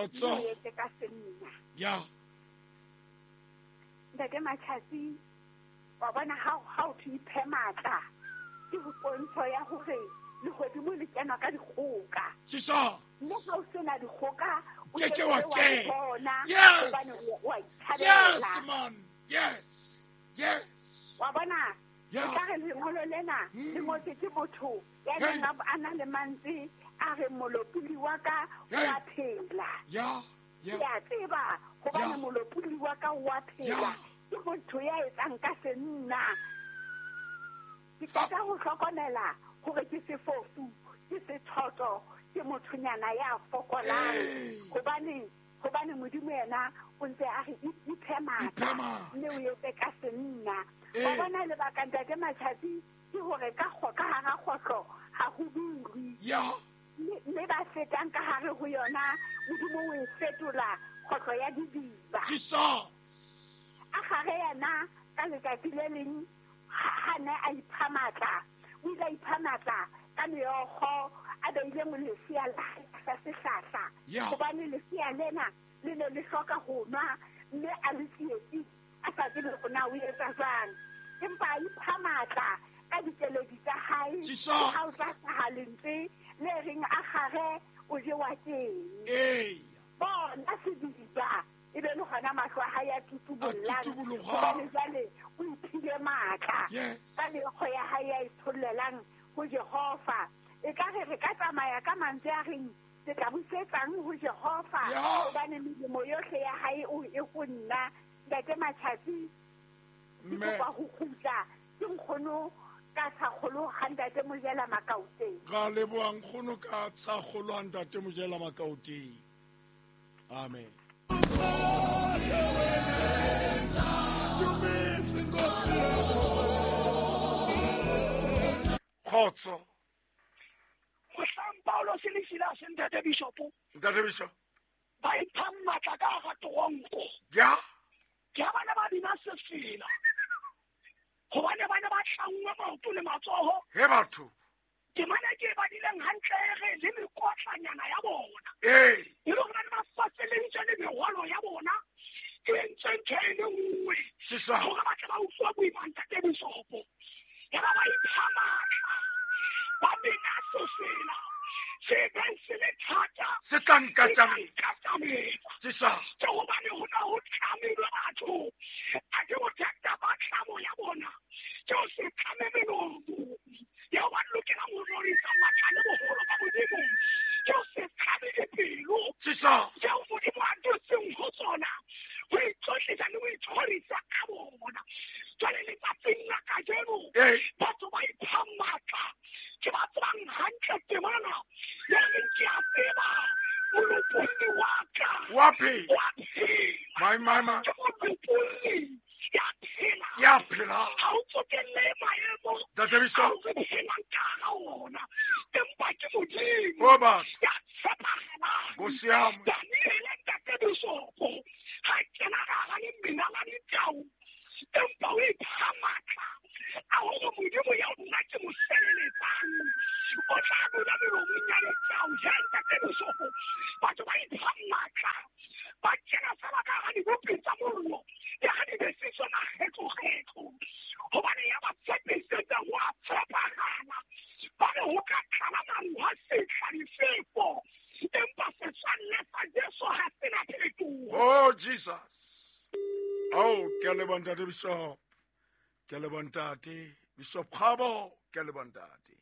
Kgotso. Mme o etse ka senna. Ya. Ntate Matjhatsi, wa bona ha ha o thwe iphe matla, ke ho pontsho ya hore lehodimo le kenwa ka dikgoka. Sisa. Mme ha o sena dikgoka, o Ke ke ke wa wa kena. bona, Yes. hobane o wa ithabela. Yes, man. Yes. Yes. Wa bona? Yeah. Ekare lengolo lena le ngotswe ke motho ya Hey. neng a na le mantswe a reng molopolli wa ka o Hey. a phela. Yeah. Ke Yeah. a tseba hobane Yeah. molopolli wa ka o a phela. Yeah. Ke motho ya etsang ka senna. Ke qeta ho hlokomela hore ke sefofu, ke sethoto, ke mothonyana ya fokolang. Hey. Hobane Modimo yena o ntse a re iphe matla, Iphe matla. mme o etse ka senna. Ee. Wa bona lebaka ntate Matjhatsi ke hore ka ka hara kgohlo ha ho dulwe. Yeah. Mme ba fetang ka hare ho yona, Modimo o e fetola kgohlo ya didiba. Jesus. A gare yena ka letsatsi le leng ha ne a ipha matla, o ile a ipha matla ka meokgo a beile lesea la hae tlasa sehlahla. Yeah. Hobane lesea lena le ne le hloka ho nwa, mme a le tsietsi, a sa tsebe hore na o etsa jwang. Empa a ipha matla ka dikeledi tsa hae. Jesus. Ke ha o tla hlaha lentswe le reng a gare o jewa keng. Ee. Bona sediba, e be le hona mahlo a hae a tutubollang. A tutuboloha. Hobane jwale o iphile matla. Yes. Ka meokgo ya hae ya ithollelang ho Jehova. Ekare re ka tsamaya ka mantswe a reng ke tla busetsang ho Jehova. Yeah. Hobane melemo yohle ya hae o e ho nna. Ntate Matjhatsi, ke Mme. kopa ho kgutla ke nkgono ka tshakgolo ha ntate Mojela Makaoteng. Ra leboha nkgono ka tshakgolo ha ntate Mojela Makaoteng. Amen. Kgotso. Mohlang Paulos le Silas ntate Bishop. Ntate Bishop. Ba ipha matla ka hara toronko. Ya. Ke ha bana ba bina sefela. Hobane ba ne ba tlangwe maoto le matsoho. He batho. Temana ke e badileng hantle e re le mekotlanyana ya bona. Ee. E le hore ba ne ba faseleditswe le merwalo ya bona. E entswe ntho e le nngwe. Sisa. Hore ba tle ba utlwe boima ntate Bishop. Ya ba ba ipha matla. Ba bina sefela. Se beng se le thata. Se tla nkatamela. Nkatamela. Sisa. Ke hobane ho na ho tlamilwe batho. A ke bothata ba tlamo ya bona. Ke ho se tlame melomo. Eo ba lokelang ho rorisa matla le boholo ba Modimo. Ke ho se tlame dipelo. Sisa. Tseo Modimo a dutseng ho tsona. Ho itlotlisa le ho ithorisa ka bona. Jwale letsatsing la kajeno, Ee. batho ba ipha matla. Ke ba tsebang hantle temana. Ya reng ke a tseba molopolli wa ka. Wa phela. Wa phela. My, my, my. Ke molopolli ya phela. Ya phela. Ha o tsotelle maemo. Ntate Bishop. Ha o re phelang ka hara ona. Empa ke Modimo. O batho. Ya tshepahalang. Nkosi yami. Daniele ntate Bishop. Ha kena ka hara lemina la ditau. Empa o ipha matla. A hore Modimo ya nna ke mo sebeletsang. O tla dula melomong ya ditau. Ya ntate Bishop. Batho ba ipha matla. Ba kena fela ka hara dibopi tsa mollo. Ya ha di besiswa makgetlo-kgetlo. Hobane ya ba tshepisetsa ho a tshepahala. Ba re ho ka tlala maru ha sehla difefo. Empa setswalle sa Jesu ha se na phetoho. Oh Jesus. Oh, ke a leboha ntate Bishop. Ke a leboha ntate Bishop Kgabo, ke a leboha ntate.